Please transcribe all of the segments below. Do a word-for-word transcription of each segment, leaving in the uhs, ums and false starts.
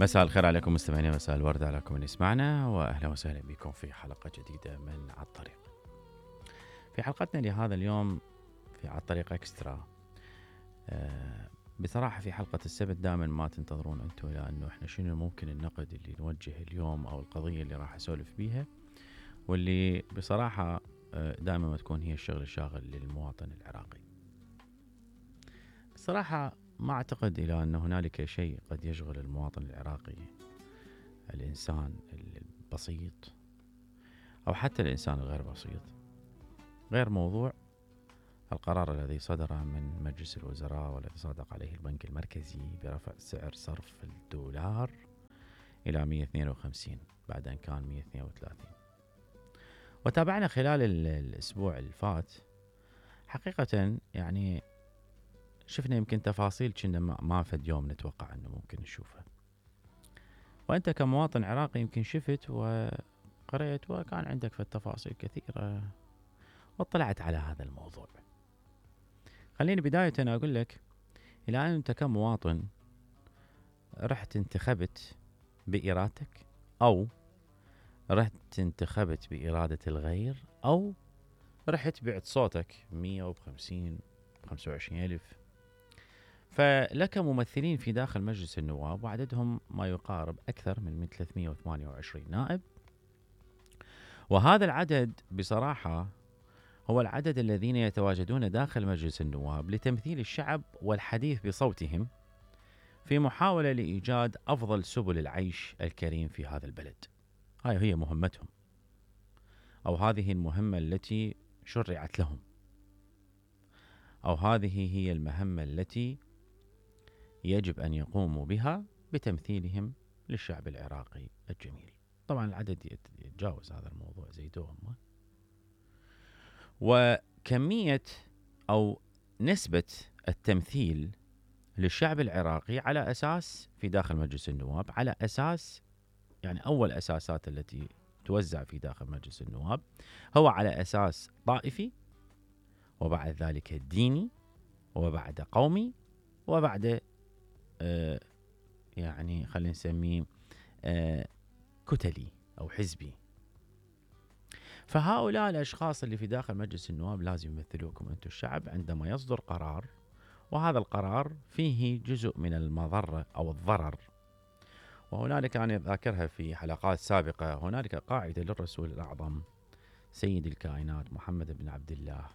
مساء الخير عليكم مستمعينا، مساء الورد عليكم اللي يسمعنا، واهلا وسهلا بكم في حلقه جديده من على الطريق. في حلقتنا لهذا اليوم في على الطريق اكسترا، آه بصراحه في حلقه السبت دائما ما تنتظرون انتم الى انه احنا شنو ممكن النقد اللي نوجه اليوم او القضيه اللي راح اسولف بيها، واللي بصراحه آه دائما ما تكون هي الشغل الشاغل للمواطن العراقي. بصراحه ما أعتقد إلى أن هنالك شيء قد يشغل المواطن العراقي، الإنسان البسيط أو حتى الإنسان الغير بسيط، غير موضوع القرار الذي صدر من مجلس الوزراء والذي صادق عليه البنك المركزي برفع سعر صرف الدولار إلى مئة واثنين وخمسين بعد أن كان مئة واثنين وثلاثين. وتابعنا خلال الأسبوع الفات حقيقة، يعني شفنا يمكن تفاصيل كنا ما فد يوم نتوقع أنه ممكن نشوفها. وأنت كمواطن عراقي يمكن شفت وقرأت وكان عندك في التفاصيل كثيرة واطلعت على هذا الموضوع. خليني بداية أنا أقول لك، إلى أن أنت كمواطن رحت انتخبت بإرادتك، أو رحت انتخبت بإرادة الغير، أو رحت بعت صوتك مئة وخمسين خمسة وعشرين ألف، فلك ممثلين في داخل مجلس النواب وعددهم ما يقارب أكثر من ثلاثمئة وثمانية وعشرين نائب. وهذا العدد بصراحة هو العدد الذين يتواجدون داخل مجلس النواب لتمثيل الشعب والحديث بصوتهم في محاولة لإيجاد أفضل سبل العيش الكريم في هذا البلد. هاي هي مهمتهم، أو هذه المهمة التي شرعت لهم، أو هذه هي المهمة التي يجب أن يقوموا بها بتمثيلهم للشعب العراقي الجميل. طبعا العدد يتجاوز هذا الموضوع زيدوهم. وكمية أو نسبة التمثيل للشعب العراقي على أساس في داخل مجلس النواب، على أساس يعني أول أساسات التي توزع في داخل مجلس النواب هو على أساس طائفي، وبعد ذلك ديني، وبعد قومي، وبعد آه يعني خلينا نسميه آه كتلي أو حزبي. فهؤلاء الأشخاص اللي في داخل مجلس النواب لازم يمثلوكم أنتم الشعب عندما يصدر قرار، وهذا القرار فيه جزء من المضرة أو الضرر. وهنالك أنا ذاكرها في حلقات سابقة، هنالك قاعدة للرسول الأعظم سيد الكائنات محمد بن عبد الله،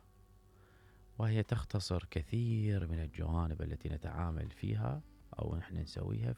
وهي تختصر كثير من الجوانب التي نتعامل فيها أو نحن نسويها